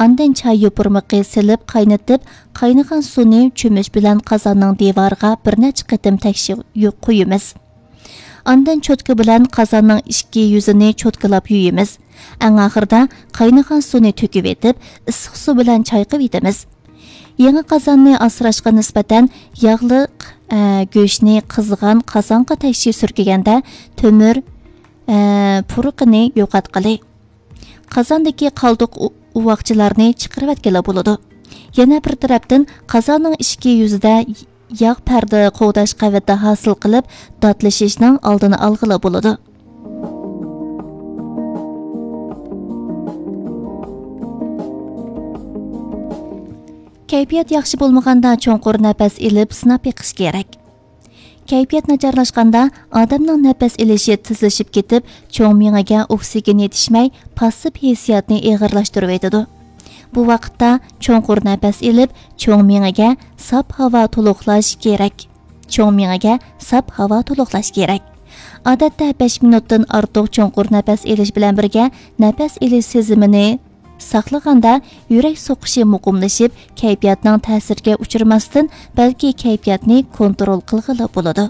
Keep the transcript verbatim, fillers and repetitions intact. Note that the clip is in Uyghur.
ئاندىن چاي يوپۇرمىقى سېلىپ قاينىتىپ، قاينىغان سۇنى چۆمۈچ بىلەن قازاننىڭ دىۋارىغا بىر نەچچە قېتىم تەكشى قويىمىز. ئاندىن چوتكا بىلەن قازاننىڭ ئىچكى يۈزىنى چوتكىلاپ يۇيىمىز. ئەڭ ئاخىرىدا قاينىغان سۇنى تۆكۈۋېتىپ، ئىسسىق سۇ بىلەن چايقىۋېتىمىز. يېڭى قازاننى ئاسراشقا نىسبەتەن ياغلىق، ئە، گۆشنى قىزغان قازانغا تەكشى سۈركىگەندە تۆمۈر، ئە، پۇرىقىنى يوقاتقىلى. قازاندىكى قالدۇق ئۇ-، ئۇۋاقچىلارنى چىقىرىۋەتكىلى بولىدۇ. يەنە بىر تەرەپتىن، قازاننىڭ ئىچكى يۈزىدە ياغ پەردە قوغداش قەۋىتى ھاسىل قىلىپ، داتلىشىشنىڭ ئالدىنى ئالغىلى بولىدۇ. كەيپىيات ياخشى بولمىغاندا، چوڭقۇر نەپەس ئېلىپ سىناپ بېقىش كېرەك. كەيپىيات ناچارلاشقاندا، ئادەمنىڭ نەپەس ئېلىشى تېزلىشىپ كېتىپ، چوڭ مېڭىگە ئوكسىگېن يېتىشمەي، پاسسىپ ھېسسىياتنى ئېغىرلاشتۇرۇۋېتىدۇ. بۇ ۋاقىتتا چوڭقۇر نەپەس ئېلىپ، چوڭ مېڭىگە ساپ ھاۋا تولۇقلاش كېرەك. چوڭ مېڭىگە ساپ ھاۋا تولۇقلاش كېرەك. ئادەتتە بەش مىنۇتتىن ئارتۇق چوڭقۇر نەپەس ئېلىش بىلەن بىرگە، نەپەس ئېلىش سېزىمىنى ساقلىغاندا، يۈرەك سوقۇشى مۇقىملىشىپ، كەيپىياتنىڭ تەسىرىگە ئۇچرىماستىن، بەلكى كەيپىياتنى كونترول قىلغىلى بولىدۇ.